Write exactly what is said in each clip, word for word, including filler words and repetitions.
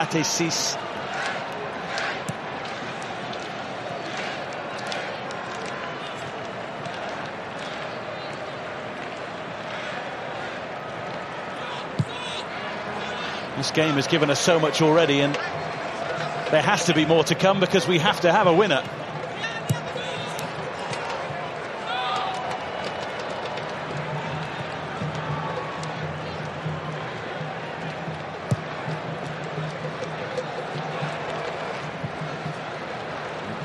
Atesis. This game has given us so much already, and there has to be more to come because we have to have a winner.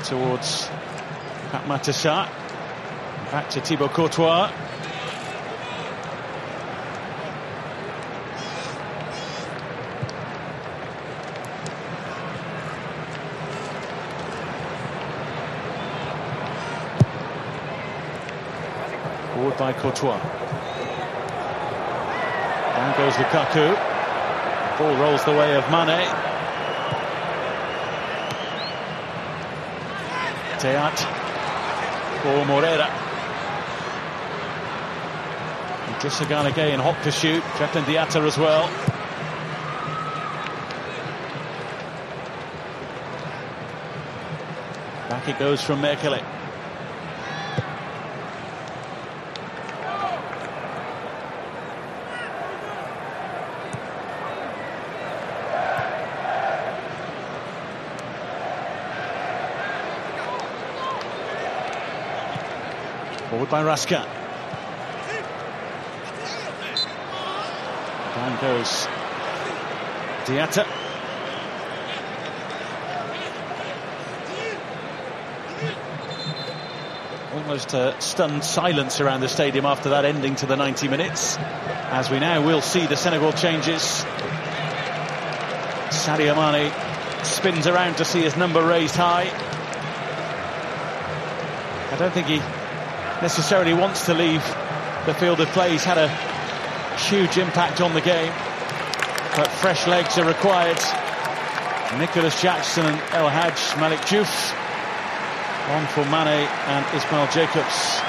Towards Pape Matar Sarr. Back to Thibaut Courtois. Forward by Courtois. Down goes Lukaku. Ball rolls the way of Mane. Teat. For Moreira. Just a gun again, hot pursuit. Krépin Diatta as well. Back it goes from Mechele. Forward by Raskin. Down goes Diatta. Almost a stunned silence around the stadium after that ending to the ninety minutes. As we now will see the Senegal changes. Sadio Mane spins around to see his number raised high. I don't think he necessarily wants to leave the field of play. He's had a huge impact on the game, but fresh legs are required. Nicolas Jackson and El Hadj Malick Diouf. On for Mane and Ismail Jakobs.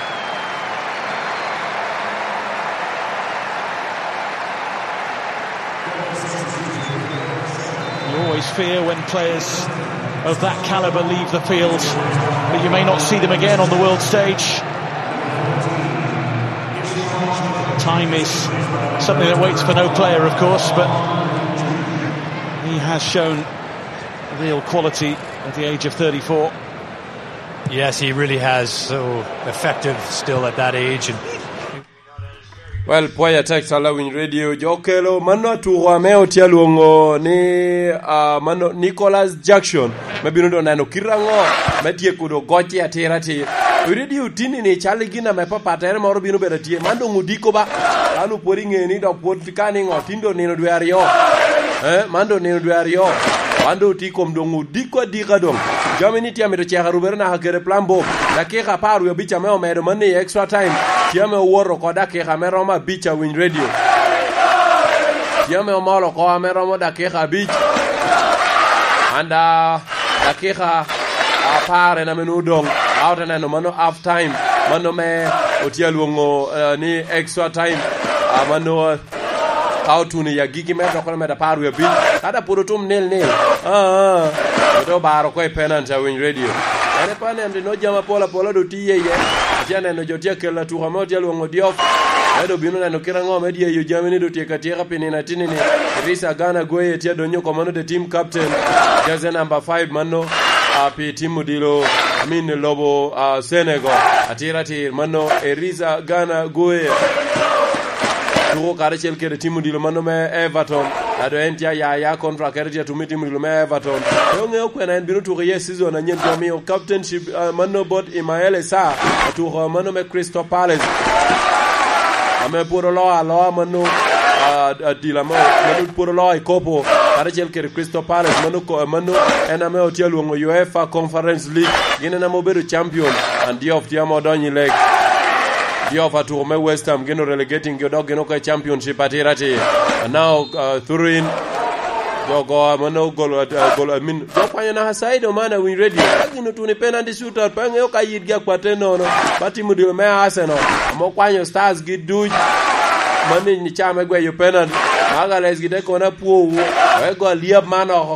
You always fear when players of that calibre leave the field that you may not see them again on the world stage. Time is something that waits for no player, of course, but he has shown real quality at the age of thirty-four. Yes, he really has. So effective still at that age. And Well, pwoya tek, Sala Winy Radio. Jo okelo mano atuko ame otye alwoŋo ni, ah, mano Nicolas Jackson, me bino doŋ neno kite aŋo me tyeko doŋ gocce atira atir. Winy Radio tinni ni cal i gin ame papattere moro bino bedo atye. Man doŋ odiko ba. An opwod i ŋe ni dok pwod ka niŋo, tin doŋ nino dwe aryo. Eh, man doŋ nino dwe aryo. Wan doŋ otye i kom doŋ odiko adika doŋ. Jami ni tye amito cek arubere naka kede plan bo. Dakika apar wie abic ame omedo man i extra time. Tye ame owoto oko dakika ame romo abic a Winy Radio. Tye ame omolo oko ame romo dakika abic. Anda dakika apar en ame nwoŋo doŋ. Aote neno mano half time. Mano me otye alwoŋo, eh, ni extra time. Ah, mano, eh, ka otuno i agikki mere dok kono medo apar wie abic. Kadi pwod otum nil nil. Ah, ah. Ote obaro oko i penalty a Winy Radio. En epani ento inongo jami apol apola doŋ tye iye. Atye aneno jo tye akelo atuko ame otye alwoŋo Diouf. Ento obino neno kite aŋo me dyeyo jami ni doŋ tyeko atyeka pi nino atinni-ni. Risa Gana Gueye tye adonyo oko mano the team captain. Jersey number five mano, ah, pi tim odilo, I mean, lobo, ah, Senegal. Atir atir mano, Eriza Gana Gueye. Tuko karacel kede tim odilo mano me Everton. Ado en tye aya aya contract, ere tye atum i tim odilo me Everton. Pe oŋeo kwena en bino tuko iye season anyen, jo omiyo captainship, ah, mano bot Ismael Esa, atuko mano me Crystal Palace. Ame pwod oloo aloa mano, ah, adila mo, mano pwod oloo i kopo, karacel kede Crystal Palace, mano ko-, mano en ame otye alwoŋo UEFA Conference League. Gin en ame obedo champion, and Diouf tye ame odonyo i leg. Diouf atuko me West Ham, gin orelegating gi odok gin oko i championship atir atir. And now, uh, Thurin, jo ogo, mano ogolo, uh, ogolo, I mean, jo okwanyo naka side man a Winy Radio. Ka gin otuno i penalty shootout, pe aŋeo ka yitgi akwatte nono. Ba tim odilo me Arsenal, ame okwanyo Stars gi duc. Mano i ca me gweyo penalty. Agales gite kono apwowu, wek go alyep man oko